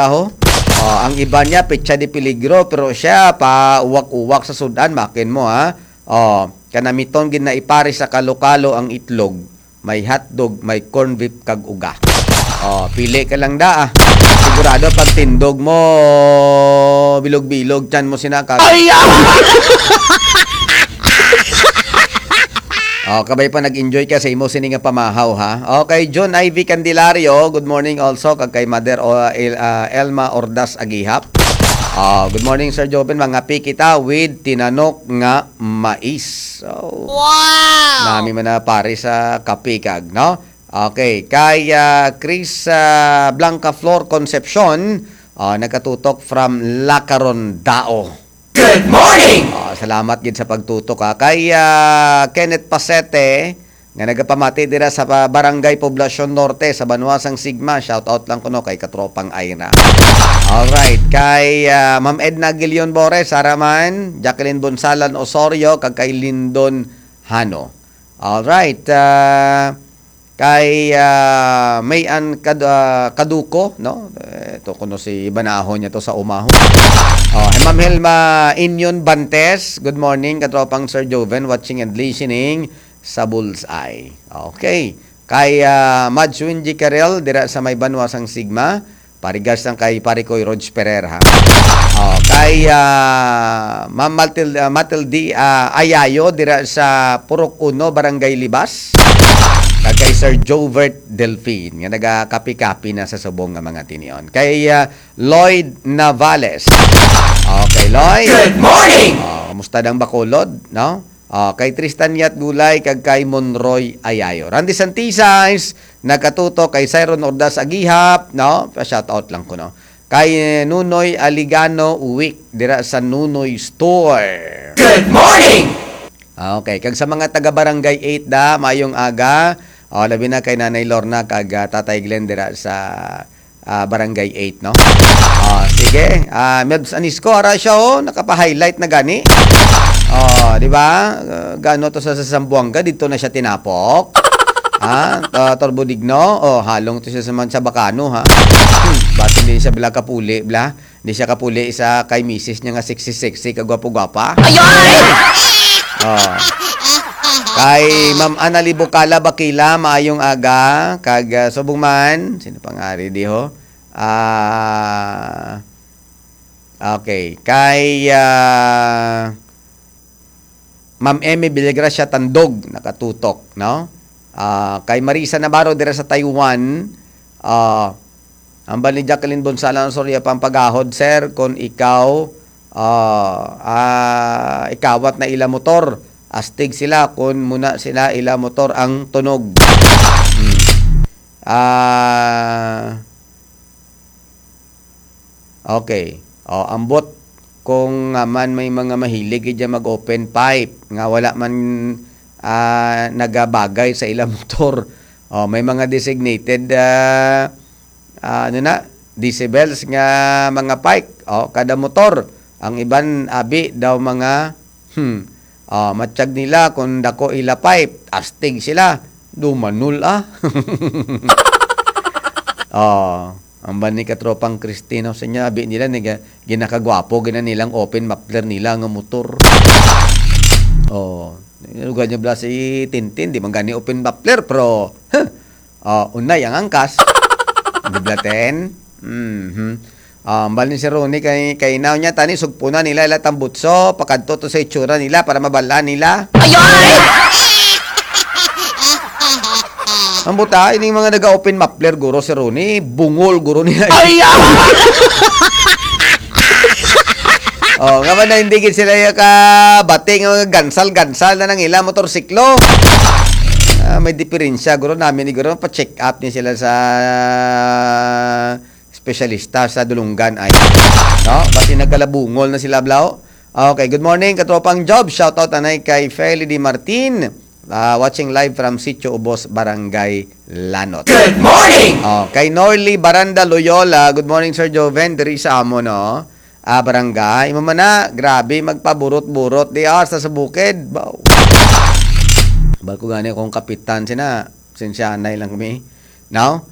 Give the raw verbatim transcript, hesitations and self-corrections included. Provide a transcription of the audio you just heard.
Aho? Oh, ang iba niya, petsa de peligro, pero siya, pa uwak-uwak sa sudan, makin mo, ha? Oh, kanamiton gid na ipari sa kalo-kalo ang itlog. May hotdog, may corn beef, kag uga. Oh, pili ka lang da, ah. Sigurado pag tindog mo, bilog-bilog, tiyan mo sina ka. Ay, ah! Oh, kabay pa nag-enjoy ka sa imo sini nga pamahaw, ha? Okay, John Ivy Candelario, good morning also kag kay Mother, o, El-, ah, Elma Ordas Agihap. Ah, good morning, Sir Joven. Mangapi kita with tinanok nga mais. So, Wow! Nami man na pare sa kape kag, no? Okay, kay, ah, Chris, ah, Blanca Flor Concepcion, ah, nagkatutok from Lacaron, Dao. Good morning! Ah, salamat gid sa pagtutok, ha. Kay, ah, Kenneth Pasete, nga nagapamati dira sa pa-, Barangay Poblacion Norte sa banwa sang Sigma. Shout out lang kuno kay Katropang Ira. Alright, kay, ah, Ma'am Edna Gilion Bores, Saraman, Jacqueline Bonsalan Osorio, kag kay Lindon Hano. Alright, ah, kay, ah, May An Kad-, ah, Kaduko, no? Eh, to kuno si Banaho niya to sa umahon. Oh, hey, Ma'am Helma Inyon Bantes, good morning, Katropang Sir Joven, watching and listening sa Bullseye. Okay. Kay, ah, Mad Swinji Karel, dira sa may banwa sang Sigma, parigas lang kay Pare Koy Rog Ferrer, ha. Oh, kay, ah, Ma'am Matil-, ah, Matilde, ah, Ayayo, dira sa Purok Uno, Barangay Libas. Kag kay Sir Jovert Delfin, nga nagakapi-kapi na sa subong nga mga tinion. Kay, ah, Lloyd Navales. Okay, Lloyd. Good morning! Oh, kumusta dang Bacolod, no? Ah, kay Tristan Yat Gulay kag kay Monroy Ayayo. Randy Santisas, nagkatutok kay Cyron Ordaz Agihap, no? Pa-shout out lang ko, no? Kay Nunoy Aligano Uwik dira sa Nunoy Store. Good morning! Ah, okay, kag sa mga taga Barangay eight da, mayong aga. Ah, labi na kay Nanay Lorna kag, ah, Tatay Glenn dira sa, ah, Barangay eight, no? Ah, sige. Ah, Mebs Anisco, ara siya, oh, nakapa-highlight na gani. Oh, di ba? Ah, gano to sa, sa Zamboanga, dito na siya tinapok. Ha? Ah, Turbo Digno, oh, halong to siya sa man sa Bacano, ha? Hmm, basi hindi siya bala kapuli, bla? Hindi siya kapuli sa kay misis niya nga sexy-sexy, kagwapo-gwapa. Ayoy! Oh. Kay Ma'am Annalie Bocala Bakila, maayong aga. Kag, ah, subong man, sino pang ari di ho? Ah, okay. Kay, ah, Ma'am Emmy Villagracia Tandog, nakatutok, no? Ah, kay Marisa Navarro dira sa Taiwan, ah, ambal ni Jacqueline Bonsalan Osorio, pampagahod, sir, kung ikaw, ah, ah, ikawat na ila motor, astig sila kung muna sila ila motor ang tunog. Hmm. Ah, okay. O, ambot kung nga man may mga mahilig gid dyan mag-open pipe nga wala man, ah, nagabagay sa ilang motor. O, may mga designated, ah, ah, ano na, decibels nga mga pipe. O, kada motor. Ang iban, abi daw mga, hmm, ah, matsyag nila kung dako ila pipe, astig sila. Dumanol, ah. Oh, ang ba ni katropang Kristino sa niya, abi nila, niga-, ginakagwapo, gina nilang open muffler nila nga motor. Oh, lugar niya bala si Tintin, di man gani open muffler, pero, huh, oh, unay ang angkas. Di bala, Ten? Mhm. Ah, ang bal ni si Ronnie kay, kay naw niya, tani, sugpuna nila ila tambutso, pakadto to sa itsura nila para mabal-an nila. Ayoy! Ang buta, ining mga naga-open muffler, guro, si Ronnie, bungol, guro nila. Ay, ah! Oh, nga ba na hindi gid sila yung kabati nga mga gansal-gansal na nang ila motorsiklo? Ah, may diferensya, guro, namin ni guro, pa-check up ni sila sa espesyalista sa Dulunggan ay, no? Basi nagkalabungol na sila, Blau. Okay, good morning, katropang Job. Shout out anay kay Feli Di Martin. Ah, watching live from Sitio Ubos, Barangay Lanot. Good morning! Oh, kay Norly Baranda Loyola, good morning, Sir Joven, diri sa amo, no? Ah, barangay. Imo man na, grabe, magpaburot-burot di, ah, sa, sa bukid. Baw. Bal ko gani akong kapitan sina. Sensyanay lang kami. No?